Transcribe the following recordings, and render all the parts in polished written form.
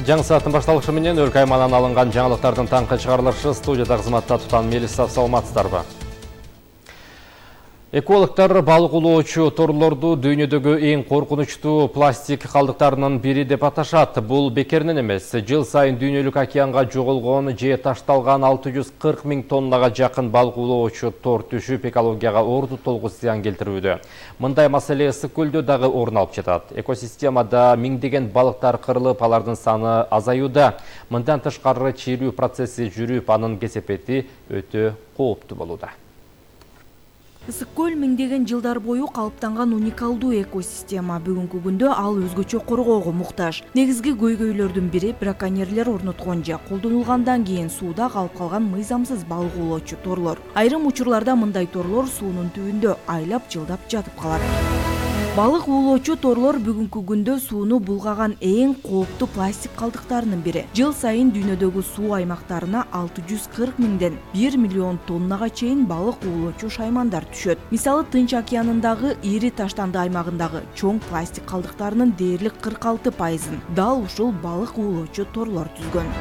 Жаңы сааттын башталышы менен өлкө аймагынан алынган жаңылыктардын таңкы чыгарылышы студияда кызматта Тутан Мелисов, саламатсыздарбы? Экологтор балык улоочу торлорду дүйнөдөгү эң коркунучтуу пластик калдыктарынын бири деп аташат. Бул бекеринен эмес. Жыл сайын дүйнөлүк океанга жоголгон же ташталган 640 000 тоннага жакын балык улоочу тор түшүп, экологияга орду толгус зыян келтирүүдө. Мындай маселе Ысык көлдө дагы орун алып жатат. Экосистемада миңдеген балыктар кырылып, алардын саны азаюуда. Мындан тышкары чирүү процесси жүрүп, анын кесепети өтө кооптуу болууда. Ысык көл миңдеген жылдар бою калыптанган уникалдуу экосистема. Бүгүнкү күндө ал өзгөчө коргоого муктаж. Негизги көйгөйлөрдүн бири браконьерлер орноткон же колдонулгандан кийин сууда калып калган мыйзамсыз балык улоочу торлор. Айрым учурларда мындай торлор суунун түбүндө айлап жылдап жатып калат. Балык улоочу торлор бүгүнкү күндө сууну булгаган эң кооптуу пластик калдыктарынын бири. Жыл сайын дүйнөдөгү суу аймактарына 640 000ден 1 миллион тоннага чейин балык улоочу шаймандар түшөт. Мисалы, Тынч океанындагы ири таштанды аймагындагы чоң пластик калдыктарынын дээрлик 46%-ын дал ушул балык улоочу торлор түзгөн.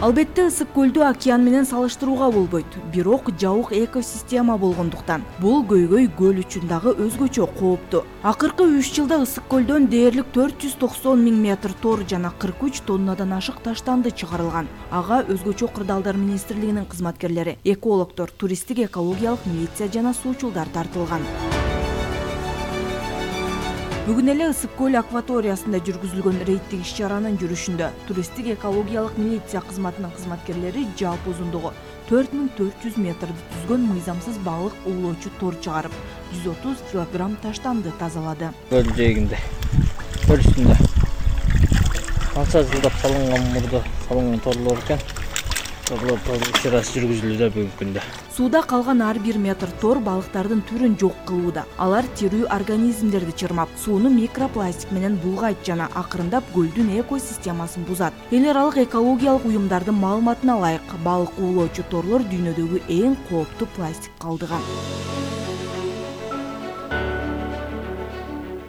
Албетте Ысык көлдү океан менен салыштырууга болбойт. Бирок жабык экосистема болгондуктан бул көйгөй көл үчүн дагы өзгөчө кооптуу. Акыркы 3 жылда Ысык көлдөн дээрлик 490 000 метр тор жана 43 тоннадан ашык таштанды чыгарылган. Ага өзгөчө кырдаалдар министрлигинин кызматкерлери, экологтор, туристтик экологиялык милиция жана суучулдар тартылган. Бүгүн эле Ысык көл акваториясында жүргүзүлгөн рейдтик иш-чаранын жүрүшүндө туристтик экологиялык милиция кызматынын кызматкерлери жалпы узундугу 4400 метрди түзгөн мыйзамсыз балык улоочу тор чыгарып, 130 килограмм таштанды тазалады. Көл жээгинде, көл үстүндө канча жылдап салынган торлор экен. Торлор иш-чарасы жүргүзүлүүдө бүгүнкү күндө. Сууда калган ар бир метр тор балыктардын түрүн жок кылууда. Алар тирүү организмдерди чырмап, сууну микропластик менен булгайт жана акырындап көлдүн экосистемасын бузат. Эл аралык экологиялык уюмдардын маалыматына ылайык, балык улоочу торлор дүйнөдөгү эң кооптуу пластик калдыгы.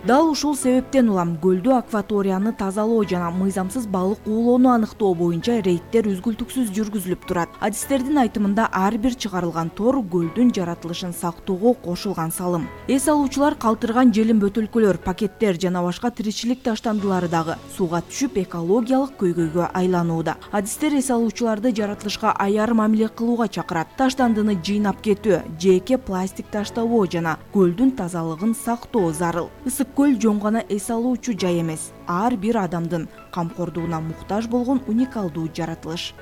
Дал ушул себептен улам көлдү акваторияны тазалоо жана мыйзамсыз балык улоону аныктоо боюнча рейдтер үзгүлтүксүз жүргүзүлүп турат. Адистердин айтымында ар бир чыгарылган тор көлдүн жаратылышын сактоого кошулган салым. Эс алуучулар калтырган желим бөтөлкөлөр, пакеттер жана башка тиричилик таштандылары дагы сууга түшүп экологиялык көйгөйгө айланууда. Адистер эс алуучуларды жаратылышка аяр мамиле кылууга чакырат. Таштандыны жыйнап кетүү, жеке пластик таштабоо жана көлдүн тазалыгын сактоо зарыл. Ысык көл жөн гана эс алуучу жай эмес, ар бир адамдын камкордугуна муктаж болгон уникалдуу жаратылыш.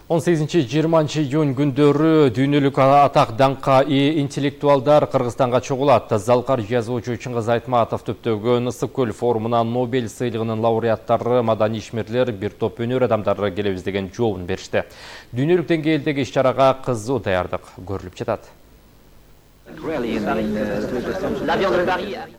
18-20 июнь күндөрү дүйнөлүк атак даңкка ээ интеллектуалдар Кыргызстанга чогулат. Залкар жазуучу Чыңгыз Айтматов түптөгөн Ысык көл форумуна Нобель сыйлыгынын лауреаттары, маданий ишмерлер, бир топ өнөр адамдары келебиз деген жообун беришти. Дүйнөлүк деңгээлдеги иш-чарага кызуу даярдык көрүлүп жатат.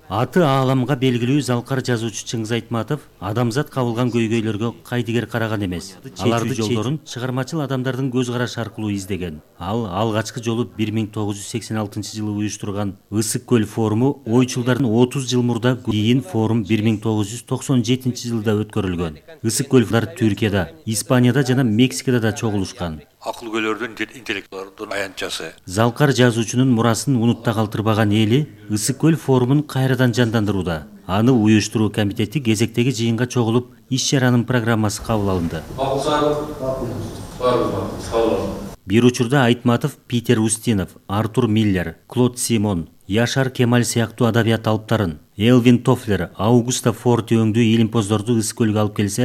Аты ааламга белгилүү залкар жазуучу Чыңгыз Айтматов адамзат кабылган көйгөйлөргө кайдыгер караган эмес. Аларды жолдорун чыгармачыл адамдардын көз карашы аркылуу издеген. Ал алгачкы жолу 1986-жылы уюштурган Ысык көл форуму ойчулдардын 30 жыл мурда кийин форум 1997-жылда өткөрүлгөн. Ысык көлдар Түркияда, Испанияда жана Мексикада да чогулушкан. Акыл көйлөрдүн, интеллектуалдын аянтчасы. Залкар жазуучунун мурасын унутта калтырбаган эли Ысык көл форумун кайрадан жандандырууда. Аны уюштуруу комитети кезектеги жыйынга чогулуп, иш-чаранын программасы кабыл алынды. Бир учурда Айтматов, Питер Устинов, Артур Миллер, Клод Симон, Яшар Кемаль сыяктуу адабият алыптарын, Элвин Тофлер, Аугуста Форти өңдүү илимпоздорду Ысык көлгө алып келсе,